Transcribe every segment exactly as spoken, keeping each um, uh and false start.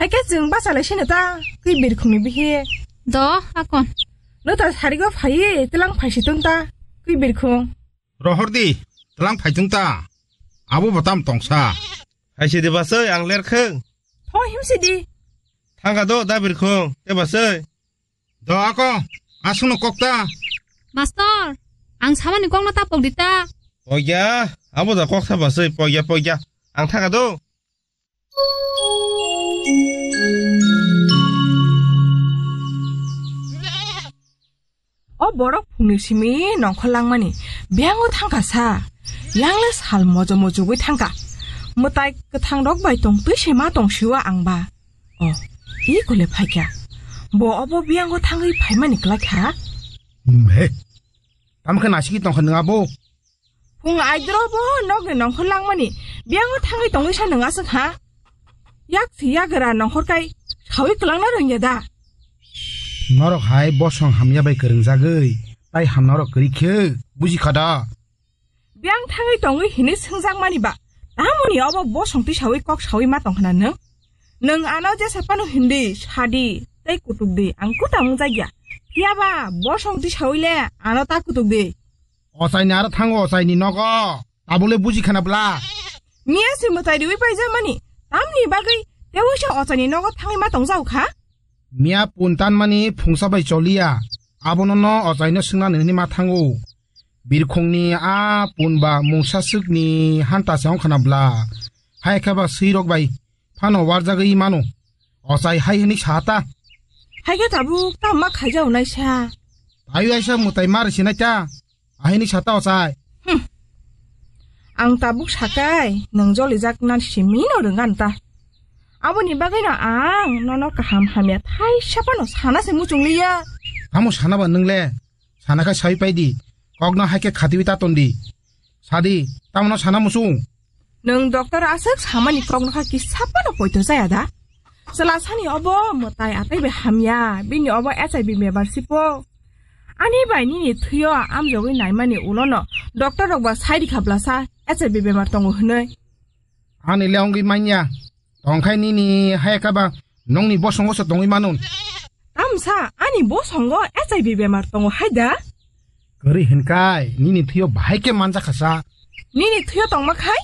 Eke chwng bachalai sino ta, kwi birkhungni bihi. Do, akon. No ta sarigo phaiwi tlang phaisi tong ta, kwi birkhung. Rohor di, tlang phai tong ta. Abo bo tam tongsa. Hai sidi basoi, ang lerkheng. Tho himsi di. Thangka do, da birkhung, te basoi. Do ako, aswkno kok ta. Master, ang samani kokno ta pok di ta. Pogya, abo da kok ta basoi, pogya, pogya. Ang thangka do. O borok phungni simi nongkhor langmani biyango thangkha sa. Yangle sal mojo mojogwi thangkha. Mwtai kwthang rok bai tong twi se ma tong siwa ang ba. O, i kole phaikha. Bo obo biyango thangwi phaimani kwlai kha. He, tamo khe naisiki tongkha nwng abo? Phung aidro bo nokni nongkhor langmani biyango thangwi tongwi sa nwng aswk ha? Yak si yagra nongkhor kai sawi kwlangna rwngya da? Norok hai bosong hamya bai kwrwngjagwi tai hamna norok kwrwi khe buji kha da? Biyang thangwi tongwi hinwi swngjakmani ba tamoni obo bosong twi sawi kok sawi ma tongkhna nwng? Nwng ano jesa phano hindi sadi tei kutuk di ang kuta wngjakya. Phiya ba bosong twi sawi le ano ta kutuk di. Ochaini aro thango ochaini nogo. Tabole buji khana bla. Miya se mwtai riwi paijak mani. Tamni bagwi tewi se ochaini nogo thangwi ma tongjak kha? Miya pun tan mani phungsa bai choliya. Abono no ochaino swngna nini ma thango. Birkhongni a pun ba mungsa swkni hanta se ong khana bla. Hai khe ba swirok bai phano warjagwi mano. Ochai hai hwnwi sa ta. Hai khe tabuk tamo ma khaijak nai sa. Ayu aisa mwtai mar sinai ta. Ahini sa ta ochai. Hmm. Ang tabuk sakai, nwng jolijak nan simi no rwngan ta. Aboni bagwi no ang nono kaham hamya thaisa phano sana se muchung liya. Tamo sana ba nwng le? Sana khe sawi pai di. Kok no hai khe khatiwi ta ton di. Sadi, tamo no sana muchung? Nwng doctor aswk samani kok no kha kisa phano poito jaya da? Chwla sani obo mwtai atai bai hamya, bini obo H I V bemar sipo. Ani bai nini thwio amjogwi naimani ulono doctor rok ba sai rikha blasa H I V bemar tongo hwnwi. Ani le ongwi manya. Tongkhai nini hai kaba nongni bosongo se tongwi manun. Tamsa ani bosongo H I V bemar tongo hai da? Kwrwi hinkai nini thwio bahai khe manjakha sa. Nini thwio tongma khai?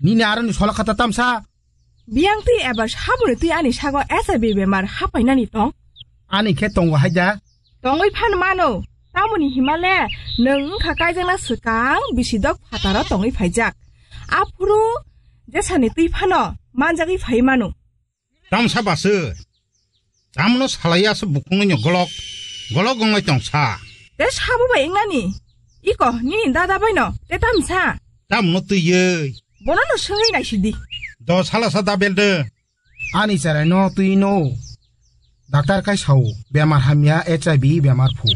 Nini aroni sola khata tamsa. Biyang twi ebar saboni twi ani sago H I V bemar hapainani tong? Ani khe tongo hai da? Tongwi phan mano. Tamoni himale nwng wngkha kaijakna swkang bisi dok phataro tongwi phaijak. Aphuru jesani twi phano manjagwi phai mano. Tamsa baswi. Tamno salai aswk bukhungno golok, golok wngnai tongsa. Te sabo bai wngnani? Iko, nini dada baino, te tamsa? Tamno twiwi. Bono no swngwi naisidi. Do salasa da belde. Ani cheraino twino. Daktar kai sao, bemar hamya H I V bemar phu.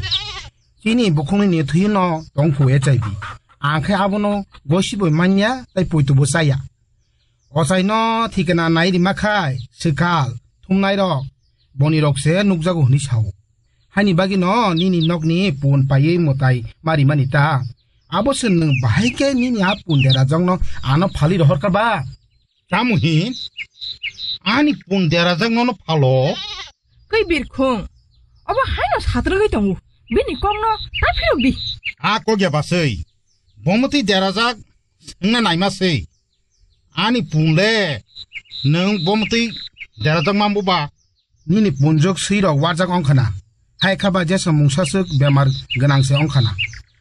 Chini bukhungni ni thwino tongphu H I V. Ang khe abono gosibo manya tai poitubo chaya. Ochaino thikna nai rima khai, swkal, thumnairok, bonirok se nukjago hwnwi sao. Haini bagwino nini nokni pun paiwi mwtai ma rimani ta? Abo se nwng bahai khe nini a pun derajakno ano phalwi rohorkha ba? Tamo hin? Ani pun derajakno no phalo? Kwi birkhung. Obo haino satrwgwi tongo. Bini kokno ta phirok di. A kokya baswi. Bomotwi derajak swngna naima se. Ani pun le nwng bomotwi derajak mambu ba? Nini punjok swirok warjak ongkhana. Hai kha ba jesa mungsaswk bemar gwnang se ongkhana.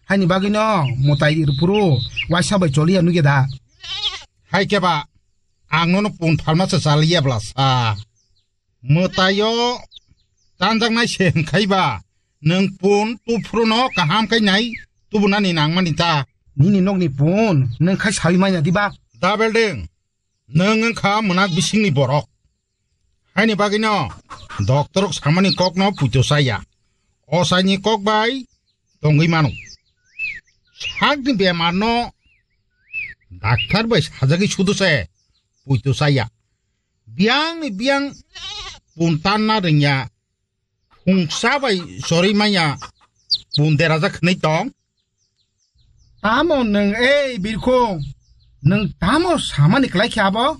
Haini bagwino mwtai rwphuru waisa bai choliya nukya da? Hai khe ba ang nono pun phalma se chaliya bla sa. Mwtaio tanjaknai se hwnkhai ba nwng pun tuphuruno kaham khai nai tubunani nangmani ta? Nini nokni pun nwng khai sawi manya diba? Da belding, nwng wngkha mwnak bisingni borok. Haini bagwino doctorrok samani kokno puito saya. Ochaini kok bai tongwi mano. Sakni bemarno daktar bai sajagwi sudu se puito saya. Biyangni biyang pun tanna rwngya. Phungsa bai chorwi manya pun derajak hwnwi tong. Tamo nwng ei birkhung, nwng tamo samani klai khe abo?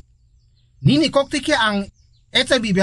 Nini koktwi khe ang H I V bemar